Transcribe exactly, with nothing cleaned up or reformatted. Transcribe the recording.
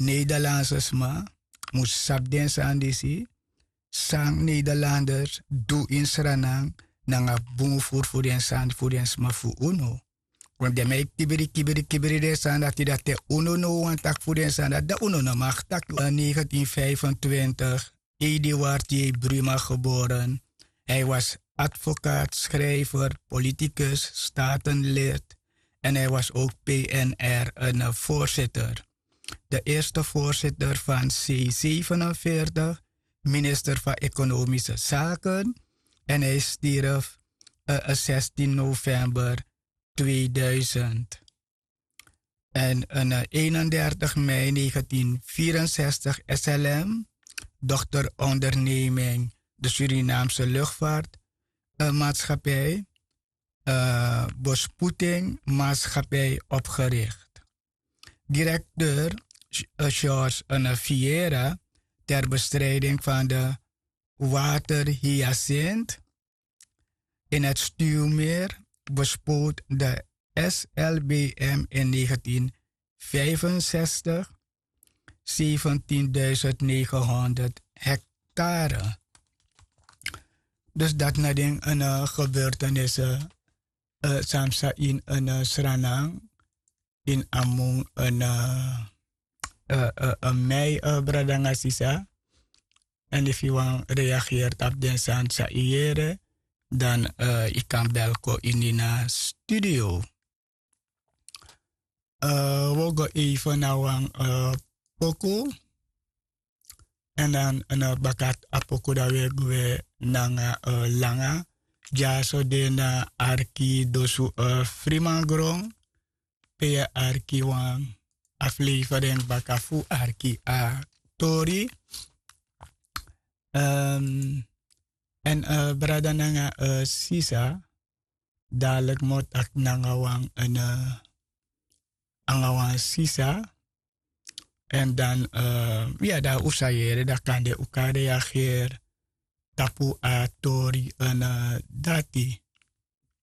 Nederlandse sma mus sabi den sani disi, san Nederlanders du ini Sranan nanga bun furu fu den sani fu den sma fu unu. Want den man e kibri kibri kibri den sani dati, dati te unu no wani taki fu den sani dati, dan unu no mag taki. Negentien vijfentwintig, Eduard J. Bruma geboren. Hij was advocaat, schrijver, politicus, statenlid en hij was ook P N R een voorzitter. De eerste voorzitter van C zevenenveertig, minister van Economische Zaken. En hij stierf uh, zestien november tweeduizend. En uh, eenendertig mei negentien vierenzestig S L M, dochterondernemming de Surinaamse Luchtvaartmaatschappij, uh, uh, Bespoedingmaatschappij opgericht. Directeur uh, George uh, Vieira ter bestrijding van de waterhyacinth in het Stuwmeer bespoot de S L B M in negentien vijfenzestig zeventienduizend negenhonderd hectare. Dus dat na den uh, gebeurtenissen uh, samsa in een uh, Sranan in among een uh, uh, uh, uh, mei uh, bradanga sisa. En efu yu wan reageert op den sani san yu yere, dan uh, yu kan bel kon ini na studio. Uh, wi o go even na wan uh, poku. En dan uh, baka a poku dan wi e gwe nanga uh, langa. Dyaso de na arki dosu uh, frimangron. Pe yu e arki wan aflevering baka fu arki a tori. Um, en uh, brada nanga uh, sisa, dadelijk mi o taki nanga wan en uh, anga wan sisa. En dan uh, ya dan un sa yere dan kande un kan reageer tapu a tori en uh, dati.